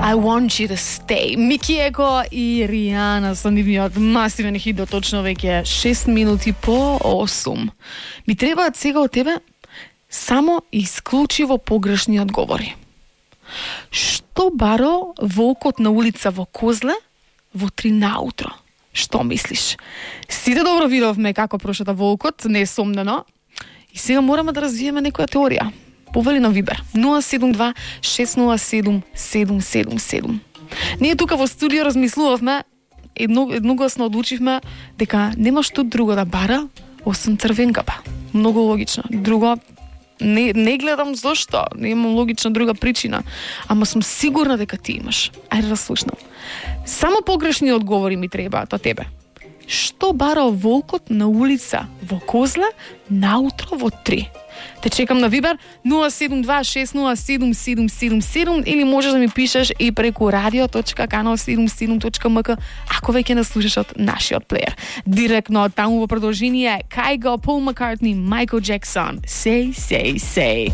I want you to stay. Мики Еко и Ријана со нивниот масивен хит до точно веќе 6 минути по 8. Ми требаат сега од тебе само исклучиво погрешни одговори. Што баро волкот на улица во Козле во 3 наутро? Што мислиш? Сите добро видовме како прошета волкот, несомнено. И сега мораме да развиеме некоја теорија. Повели на Вибер 072 607 777. Ние тука во студио размислувавме, едногласно одлучивме дека нема што друго да бара освен црвенкапа. Многу логично. Друго не гледам зошто, немам логична друга причина, ама сум сигурна дека ти имаш. Ајде да слушнам. Само погрешни одговори ми требаат од тебе. Што барал волкот на улица во Козле наутро во 3? Те чекам на Вибер 072-607-777 или можеш да ми пишеш и преку radio.canal77.mk ако веќе не слушаш од нашиот плеер. Директно таму во продолжение Kygo, Paul McCartney, Michael Jackson. Say, say, say.